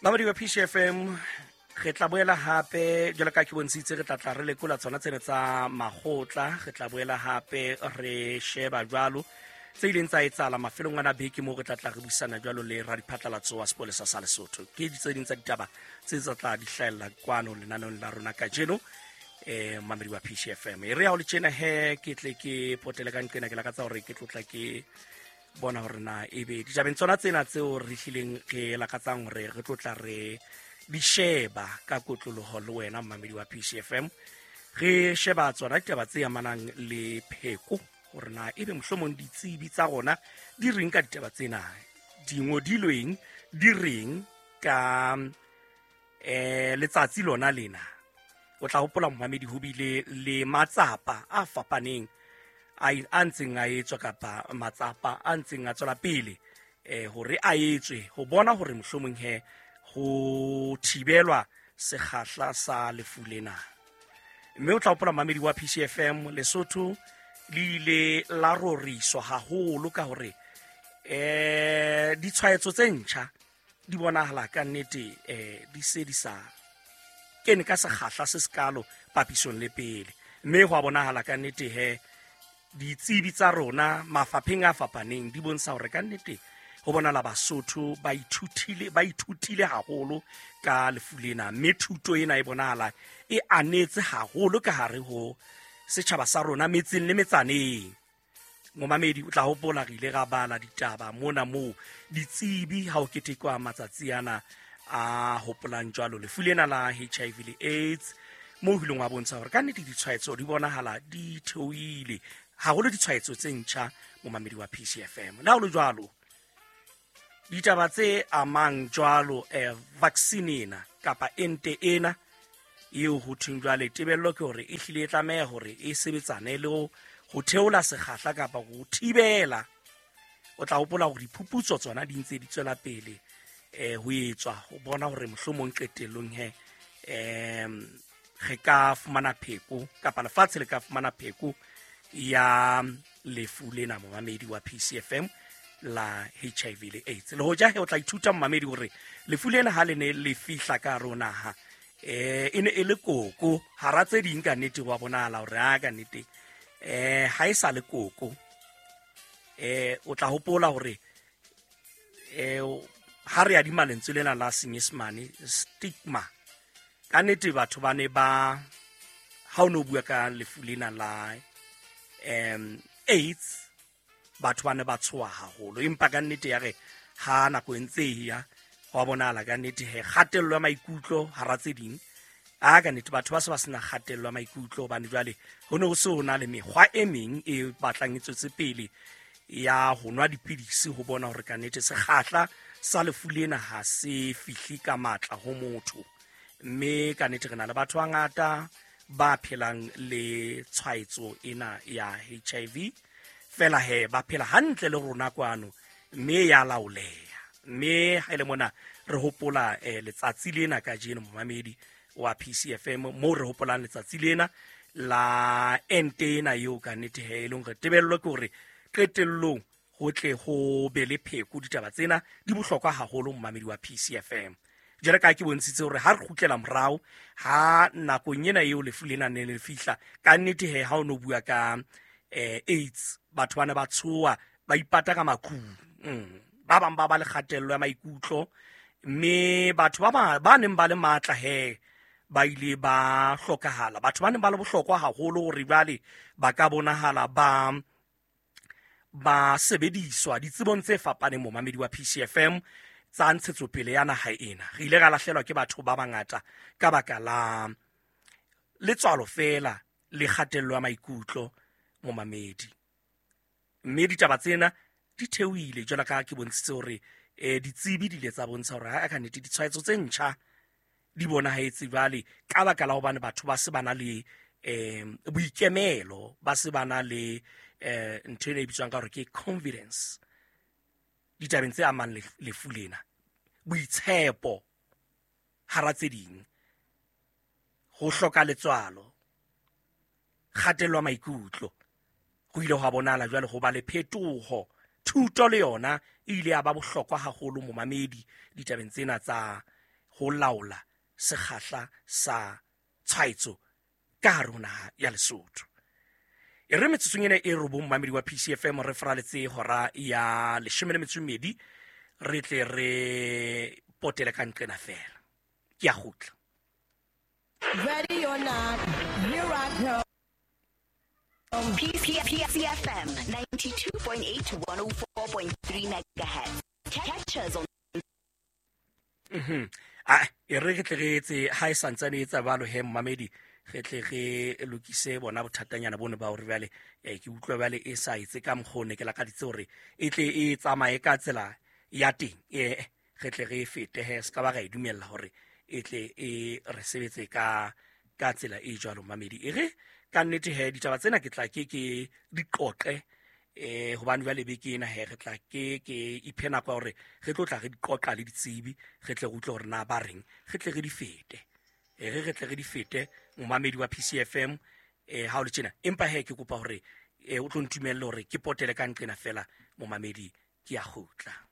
Mamedi wa PCFM, re tla boela hape jwalo ka ke bontshitse, re tla tla re lekola tsona tsena tsa makgotla. Re tla boela hape re sheba jwalo tse ileng tsa etsahala mafelong ana beke, moo re tla tla re buisana jwalo le radiphatlalatso wa sepolesa sa Lesotho. Ke tse ding tsa ditaba tse tsa tla di hlahella kwano lenaneong la rona kajeno. Mamedi wa PCFM, e re ya ho le tjena he, ke tle ke potele ka nqena, ke lakatsa hore ke tlotla ke bona hore na ebe ditabeng tsona tsena tseo re hlileng re lakatsang hore re tlotla re di sheba ka kotloloho le wena mmamedi wa PCFM, re sheba tsona ditaba tse amanang le pheko, hore na ebe mohlomong ditsebi tsa rona di reng ka ditaba tsena, dingodilweng di reng ka letsatsi lona lena. O tla hopola, momamedi, ho bile le matsapa a fapaneng a ntseng a etswa, kapa matsapa a ntseng a tswela pele hore a etswe ho bona hore mohlomong he ho thibelwa sekgahla sa lefu lena. Mme o tla hopola, mamedi wa PCFM, Lesotho le ile la roriswa haholo ka hore ditshwaetso tse ntjha di bonahala ka nnete di se di sa kene ka sekgahla se sekalo papisong le pele, mme ho a bonahala ka nnete he ditsebi tsa rona mafapheng a fapaneng di bontsha hore ka nnete ho bonala Basotho ba ithutile haholo ka lefu lena, mme thuto ena e bonahala e anetse haholo ka hare ho setjhaba sa rona metseng le metsaneng. Momamedi, o tla hopola re ile ra bala ditaba mona moo ditsebi ha o ketekwa matsatsi ana a hopolang jwalo lefu lena la HIV le AIDS, moo ho ileng wa bontsha hore ka nnete ditshwaetso di bonahala di theohile haholo, ditshwaetso tse ntjha, momamedi wa PCFM. Le ha ho le jwalo, ditaba tse amang jwalo vaccine ena kapa ente ena eo ho thweng jwale tebello ke hore e hlile e tlameha hore e sebetsane le ho theola sekgahla kapa ho thibela. O tla hopola hore diphuputso tsona di ntse di tswela pele ho etswa ho bona hore mohlomong qetellong he re ka fumana pheko kapa lefatshe le ka fumana pheko ya lefu lena, momamedi wa PCFM, la HIV le AIDS. Le hoja he o tla ithuta, momamedi, hore lefu lena ha le ne le fihla ka hare ho naha e ne e le koko hara tse ding. Ka nnete wa bonahala hore a ka nnete ha e sa le koko. O tla hopola hore ha re adima lentswe lena la Senyesemane stigma, ka nnete batho ba ne ba, ha o ne o bua ka lefu lena la AIDS, batho ba ne ba tshoha haholo. Empa ka nnete ya re ha nako e ntse e ya, wa bonahala ka nnete he kgatello ya maikutlo hara tse ding, a ka nnete batho ba se ba sena kgatello ya maikutlo, hobane jwale ho ne ho se ho na le mekgwa e meng e batlang e tswetse pele ya ho nwa dipidisi ho bona hore ka nnete sekgahla sa lefu lena ha se fihle ka matla ho motho. Mme ka nnete re na le batho ba ngata ba phelang le tshwaetso ena ya HIV, fela he ba phela hantle le rona kwano, mme ya laoleha. Mme ha ile mona re hopola letsatsi lena kajeno, momamedi wa PCFM, moo re hopolang letsatsi lena la ente ena eo ka nnete he e leng hore tebello ke hore qetellong ho tle ho be le pheko. Ditaba tsena di bohlokwa haholo, momamedi wa PCFM. Jwale ka ke bontshitse hore ha re kgutlela morao ha nakong ena eo lefu lena ne le fihla, ka nnete he ha o no bua ka AIDS, batho ba ne ba tshoha, ba ipata ka makhung. Ba bang ba ba le kgatello ya maikutlo, mme batho ba neng ba le matla he ba ile ba hlokahala, batho ba neng ba le bohlokwa haholo hore jwale ba ka bonahala ba sebediswa ditsebong tse fapaneng, momamedi wa PCFM, tsa ntshetsopele ya naha ena. Re ile ra lahlelwa ke batho ba bangata ka baka la letswalo fela le kgatello ya maikutlo, momamedi. Mme ditaba tsena di theohile jwalo ka ke bontshitse hore ditsebi di ile tsa bontsha hore ha ka nnete ditshwaetso tse ntjha di bonahetse jwale ka baka la hobane batho ba se ba na le boikemelo, ba se ba na le ntho ena e bitswang ka hore ke confidence ditabeng tse amang lefu lena, boitshepo hara tse ding, ho hloka letswalo, kgatello ya maikutlo. Ho ile hwa bonahala jwale ho ba le phetoho. Thuto le yona e ile ya ba bohlokwa haholo, momamedi, ditabeng tsena tsa ho laola sekgahla sa tshwaetso ka hare ho naha ya Lesotho. E re metsotsong ena e robong mamedi wa PCFM re fraletse hora ya 12 re tle re potele ka nqena fela. Ke a kgutla. Ready or not, here I come. PCFM 92.8 to 104.3 megahertz. Catch us on A e re re tle re etse ha e santsane e etsa balo he mmamedi, re tle re lokise bona bothatanyana bone ba hore jwale ke utlwa jwale e sa etse ka mokgwa o ne ke lakaditse hore e tle e tsamaye ka tsela ya teng. Re tle re e fete he, se ka ba ra e dumella hore e tle e re sebetse ka tsela e jwalo mmamedi. E re ka nnete he ditaba tsena ke tla ke ke di qoqe hobane jwale beke ena he re tla ke ke iphe nako ya hore re tlo tla re di qoqa le ditsebi, re tle re utlwe hore na ba reng, re tle re di fete. Re tle re di fete momamedi wa PCFM ha o le tjena. Empa he ke kopa hore o tlo ntumelle hore ke potele ka nqena fela momamedi, ke a kgutla.